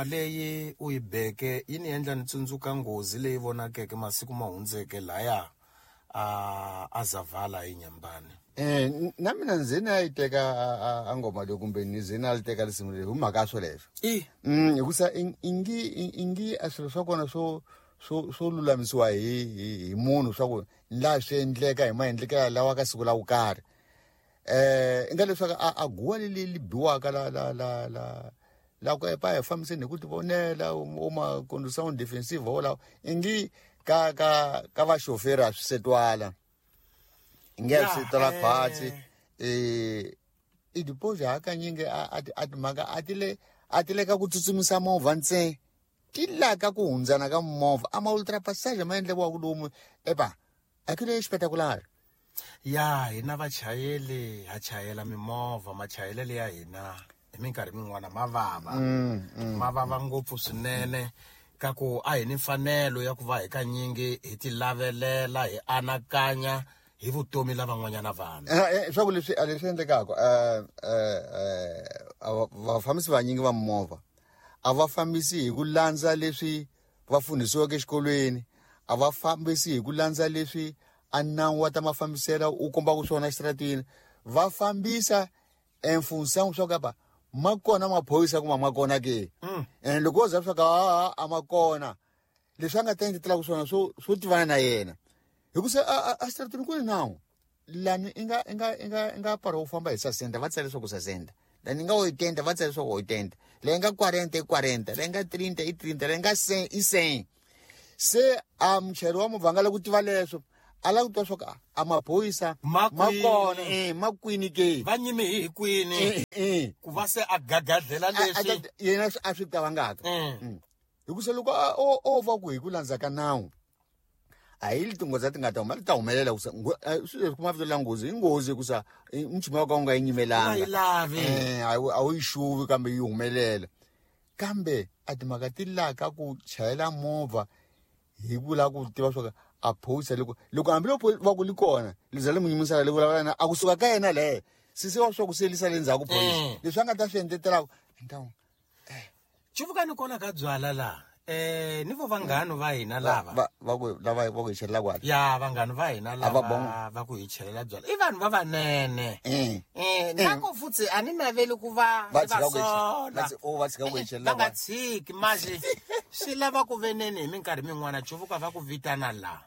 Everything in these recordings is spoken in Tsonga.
Leyi u yi beke yi ni endla ni tsundzuka nghozi leyi vonakeke masiku ma hundzeke laya a a Zavala hi Nyambani. Na mina ndzi na yi teka a ngoma leyi kumbe ni ze na li teka risimu leri hi mhaka ya swoleswo. I Hikusa ingi a swilo swa kona swo lulamisiwa hi munhu swa ku la swi endleka hi maendlekelo lawa ka siku la ku karhi. I nga leswaku a guwa leli li biwaka la la la la la ku epa hi fambiseni hi ku tivonela u ma condition defensive wolawo ingi ka ka ka vaxoferi a swi se twala, ingi a swi twala khwatsi. I deposit hakanyingi a timhaka a ti le ka ku tsutsumisa movha ntsena, ti la ka ku hundzana ka movha a ma ultra passage ma endliwaka lomu epa a ku le xipetakulari. Ya hina vachayeli ha chayela mimovha, machayelelo ya hina hi minkarhi min'wana ma vava. Ma vava ngopfu swinene ka ku a hi ni mfanelo ya ku va hi kanyingi hi ti lavelela, hi anakanya hi vutomi la van'wanyana vanhu. Swa ku leswi a leswi endlekaka, vafambisi vanyingi va mimovha a va fambisi hi ku landza leswi va fundhisiweke exikolweni, a va fambisi hi ku landza leswi a nawu wa ta mafambiselo u kombaka swona exitarateni. Va fambisa en fonction swa ku apa ma kona maphorisa kuma ma kona ke. And loko wo za swa ka a ma kona leswi a nga ta endletelaka swona swo tivana na yena, hikusa a xitarateni ku ni nawu lani i nga pfara u famba hi sasenta, va tsale leswaku sasenta, lani i nga 80 va tsale leswaku 80, leyi nga 40 i 40, leyi nga 30 i 30, leyi nga 100 i 100. Se a muchayeri wa movha a nga lavi ku tiva leswo, a lava ku twa swa ku a maphorisa Ma ma kwini? kona, ma kwini ke? Va nyime hi kwini? Ku va se a gagadlela leswi. Yena a swi cavangaka. Hikusa loko o va ku hi ku landza ka nawu, a hi tinghozi ti nga ta huma, ti ta humelela ku sa, swilo leswi kuma vito la nghozi, i nghozi ku sa, nchumu wa ka u nga yi nyimelanga. U nga yi lavi. A wu yi xuvi kambe yi humelela. Kambe a timhaka ti la ka ku chayela movha hi ku lava ku tiva swa ku a phorisa loko hambi loko va ku li kona, li za li n'wi yimisela li vulavula na, a kusuka ka yena leyo, sesi wa swa ku se lisa le ndzhaku phorisa. Leswi a nga ta swi endletelaka, ntawu. Chuvukani kona ka byala la. Ni vo vanghani va hina lava. Va ku, lava va ku hi chelela kwala. Ya, vanghani va hina A va lava bonga. va ku hi chelela byala. I vanhu va vanene. Nako futsi a ni naveli ku va Va va tshika ku hi sola. va oh, va tshika ku hi chelela Va nga kwala. tshiki, manje swi lava ku veneni hi minkarhi min'wana Chuvuka va ku vitana la.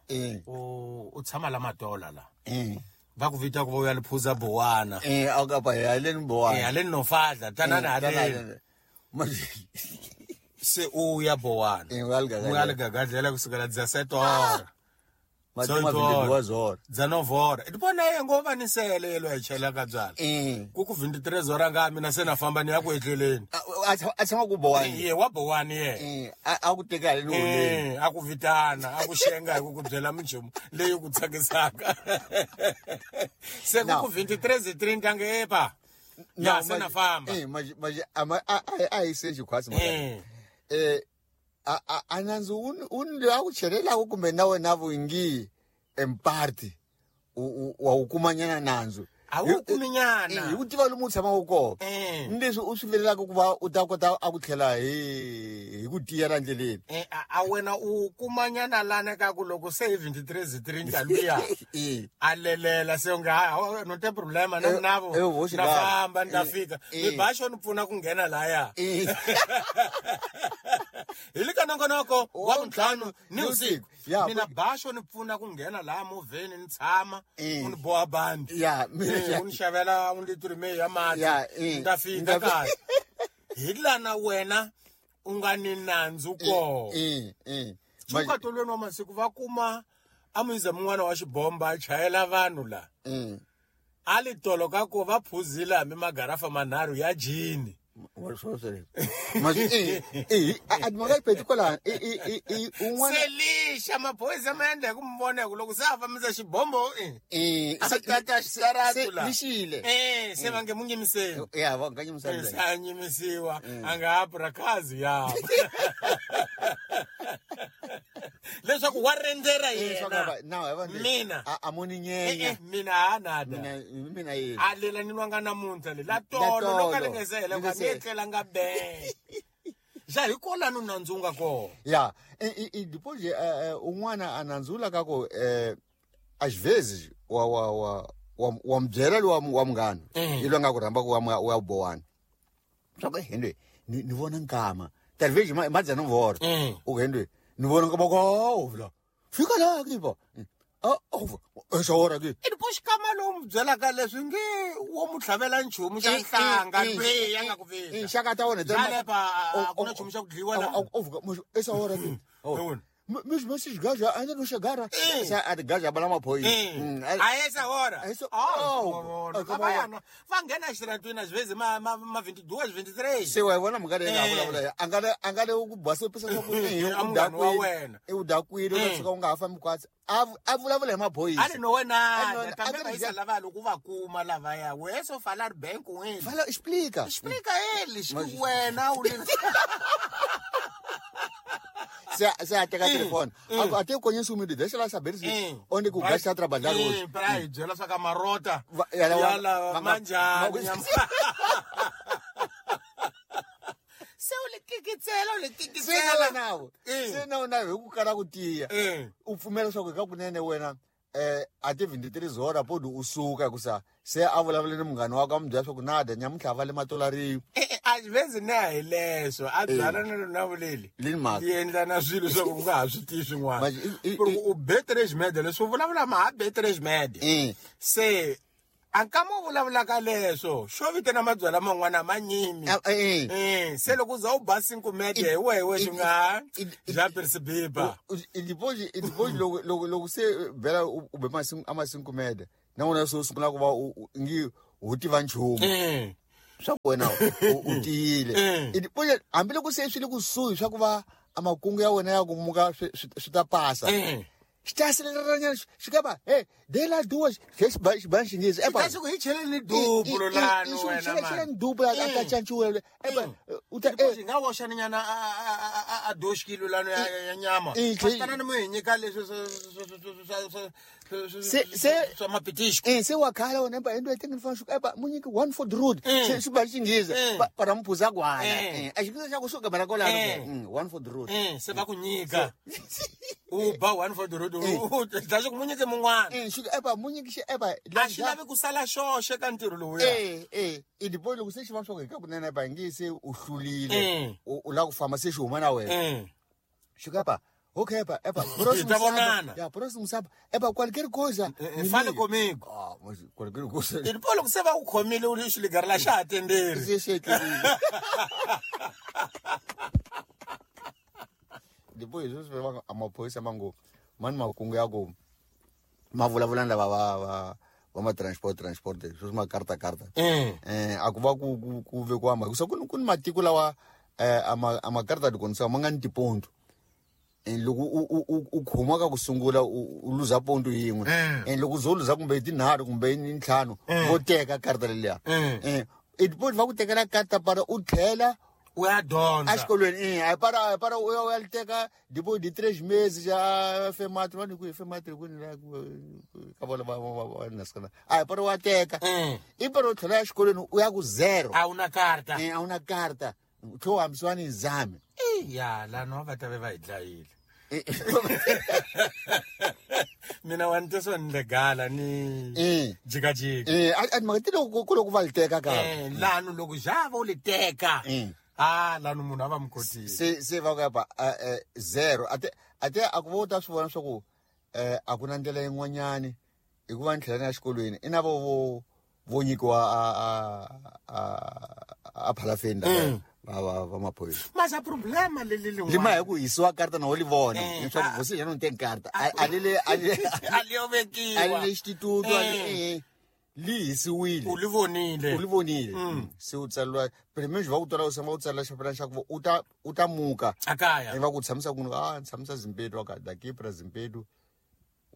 U tshama la Matola la. Va ku vita ku va u ya liphuza bowana. A ka pa haleni bowana. Haleni no fadla, tanani Tanani haleni. haleni. Manje Se u ya bowana. U ya ligagadlela. U ya ligagadlela kusukela dza setora. Mati Sorry, ma Tora. vindeliwa zora. Dza novora. I vona ye ngo va ni sele yelo hi chela ka byala. Ku ku 23 zora nga mina se na famba ni ya ku etleleni. A tshama ku bowani. Ye wa bowani ye. A ku teka haleni holeni. A ku vitana, a ku xenga hi ku ku byela minchumu leyi ku tsakisaka. Se ku Now. ku 23 zi 30 nge epa. Ya, Now, se na famba. Manje, a ma, a, a, a hi se xikhwatsi mhaka. A nandzu wu ni loyi a ku chelelaka kumbe na wena vungi emparti, wa wu kumanyana nandzu. A wu kuminyana. Hi ku tiva lomu u tshamaka kona. Ni leswi u swi vilelaka ku va u ta kota a ku tlhela hi ku tiyela ndleleni. A wena u kumanyana lana ka ku loko se hi 23 zi 30 luya. A lelela se u nga, ha, ha, no te problema, na navo. Voxi Na lava. famba, ni ta fika. Mi ba xo ni pfuna ku nghena laya. Hi le ka nongonoko wa vuntlhanu ni vusiku. Ya, Mina ba xo ni pfuna ku nghena laha movheni ni tshama, u ni boha bandi. Ya, mina U ni xavela un litri me ya mati. Ya, Ni ta fika Ni ta kaya. Hi lana wena u nga ni nandzu kona. Chuka tolweni wa masiku va kuma a muyiza mun'wana wa xibomba a chayela vanhu la. A li tolo ka ku va phuzile hambi magarafa manharhu ya jini. Wa swo sweswo. Manje, a timhaka ti kwalano, un'wana Selixa maphorisa ma endla hi ku mi vona hi ku loko se a fambisa xibombo, a tata xitaratu la. lixile. Se va nge mu nyimiseni. Ya, va nga nyimisani Se a nyimisiwa, a nga ha purakazi ya. Leswaku wa rendzela yena. Swa ka na, va ndzi- Mina. A mo ni nyenya. Mina ha nada. Mina, mina yena. A lela ni lwanga namuntlha le. La La tolo, loko a tolo. li nga se hela, Li nga ni se etlela nga be. Ja hi kolano nandzu wu nga kona. Ya, e depois un'wana a nandzula ka ku às vezes wa mi byela lowa wa munghana i loyi a nga ku rhamba ku wa bowani swa ku hendwe ni vona nkama talvez ma dzana vora u ku hendwe ni vona nkama ko vula fika laha ke ba esa hora ke i depois xikama lowu mi byelaka leswi nge wo mu tlhavela nchumu xa nhlanga lweyi ya nga ku vita xaka ta wona jalepa a ku na nchumu xa ku dliwa la esa hora ke Mesmo esses gajos ainda não chegaram. A gajo a maphorisa. A essa hora. Lavayana va nghena exitaratweni às vezes ma 22, 23. Se wa vona mhaka leyi nga vulavula a nga le ku basopisa swa ku munghana wa wena. I u dakwile u ta tshuka u nga ha fambi kwatsi. A vulavula hi maphorisa. A ri no wena kambe va yisa lava loko va kuma lavaya we so falar bem com ele. Fala explica. Explica eles que wena u Se a teka telefone. Até eu conheço um menino, deixa lá saber se onde que o gajo está a trabalhar hoje. Peraí, byela swa ka marota. Yala manjani. Se u le kikitsela, u le kikitsela. Se na wena hi ku kala ku tiya. U pfumela swa ku ka kunene wena a ti 23 hora podi u suka hikusa se a vulavule ni munghana wakwe a mi byela swa ku nada nyamuntlha va le matolariwi. Às vezes ne a hi leswo a byala na lona vuleli yi endla na swilo swa ku nga ha swi tivi swin'wana ku ri u be três média leswi u vulavula ma ha be três média se a nkama u vulavulaka leswo xo vitana mabyala man'wana ma nyimi se loko u za u ba cinco média hi wehe wexe u nga já percebiba depois loko se bela u be a ma cinco média na wona se u sungula ku va ngi u tiva nchumu swa ku wena u tiyile hambiloko se swi le kusuhi swa ku va a makungu ya wena ya ku muka swi ta pasa xi ta sileranyana xi ka va he de la duas xi ba xinghezi epa xi ku hi cheleni duplo lano wena cheleni duplo a ta canciwa epa u ta xi nga woxaninyana a 2 kilo lano ya nyama tana ni mu hi nyika leswi swa mapitisco se wa khala wena epa into etengeni fana xi epa mu nyiki 1 for the road xi ba xinghezi para mphuza kwana a xinghezi xa ku suka bara kolano 1 for the road se va ku nyika u ba 1 for the road u dlaxe ku mu nyike mun'wana xi epa mu nyiki xi epa a xi lavi ku sala xoxe ka ntirho lowuya i depois loko se xi va swa ku hi ka kunene epa nge se u hlulile u lava ku famba se xi huma na wena xi ka epa okay epa epa próximo ya próximo sábado epa qualquer coisa fale comigo mas qualquer coisa e depois loko se va ku khomile u xi ligarela xa ha tenderi se xi depois swi va a maphorisa mango mani makungu ya ku ma vulavula na lava va ma transport sweswi ma karta a ku va ku vekiwa mhaka so ku ni matiko lawa a ma karta de condução ma nga ni tiponto loko u khoma ka ku sungula u luza ponto yin'we loko u zo luza kumbe tinharhu kumbe ntlhanu vo teka karta leliya i depois va ku tekela karta para u tlhela u ya dyondza exikolweni para u ya li teka depois de 3 meses já fematri va ni ku fematri ku ni ka vona va nasikana a para wa teka i para u tlhela exikolweni u ya ku zero a wu na karta a wu na karta u tlhe u hambisiwa ni exame ya lano va ta ve va hi dlayile mina wa ni teswa ni legala ni jikajika a mhaka ti loko ku loko va li teka ka lano loko java u li teka lano munhu a va mi kotile se va ku epa zero ate a ku va u ta swi vona swa ku a ku na ndlela yin'wanyani hikuva ni tlhela ni ya xikolweni i na vo vo nyikiwa a phalafeni lava va maphorisa mas a problema leli lin'wana lima hi ku hisiwa karta na wo li vona leswaku você já não tem carta a li a li yo vekiwa a li le instituto li hisiwile u li vonile u li vonile se u tsariwa primeiro va ku twela u samba u tsalela xipapilana xa ku u ta muka a kaya va ku tshamisa ku ni tshamisa Zimpedu wa ka daqui pra Zimpedu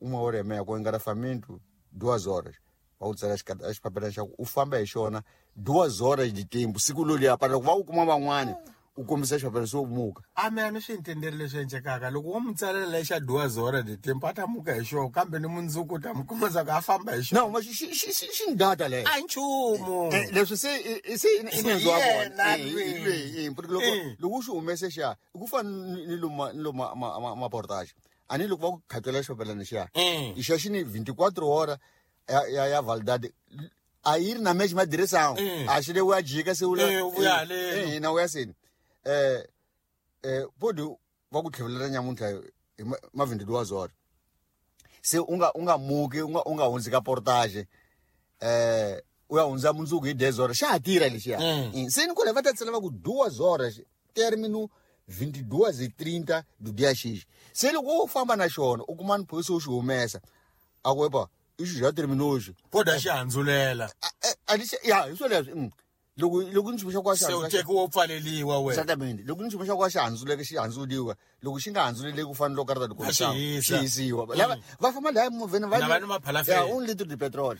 1h30 com engarrafamento 2 horas va ku tsala xipapilana xa ku u famba hi xona 2 horas de tempo siku loliya para loko va ku kuma van'wani U kombisa xipapilana se u muka. A me a ni swi intendeli leswi endlekaka loko wo n'wi tsalela lexa duas hora de tempo a ta muka hi xona kambe ni mundzuku u ta mi kuma swa ku a famba hi xona. No, ma xi xi xi xi xi ni data leyo. A hi nchumu. Eh, leswi se se i nandzu wa Yena vona. lweyi. Eh, loko loko u xi humese xiya i ku fana ni lomu ni lomu maportage a ni loko va ku khatela xipapilana xiya i xa xi ni 24 hora ya validade a yi ri na mexe madiresawu a xi le u ya jika se u Eh, u vuya haleni. Eh, na u ya seni podi va ku tlhevelela nyamuntlha hi ma 22 zora se u nga muki u nga hundzi ka portage u ya hundza mundzuku hi 10 hora xa ha tirha lexiya. Se ni kule va ta tsala va ku duas horas termino 22:30 do dia X. Se loko u famba na xona u kuma ni phorisa u xi humesa a ku epa ixi já terminou hoje. Podi a xi handzulela. Ya hi swo leswi. Loko ni nchumu xa ku a xi Se u handzula tekiwa u pfaleliwa wena. Exactamente, loko ni nchumu xa ku a xi handzuleke xi handzuriwa, loko xi nga handzuleleki ku fana loko karata A xi hisa. xi hisiwa lava va famba laya movheni Na va ni maphalafela. Ya 1 litre de petrol.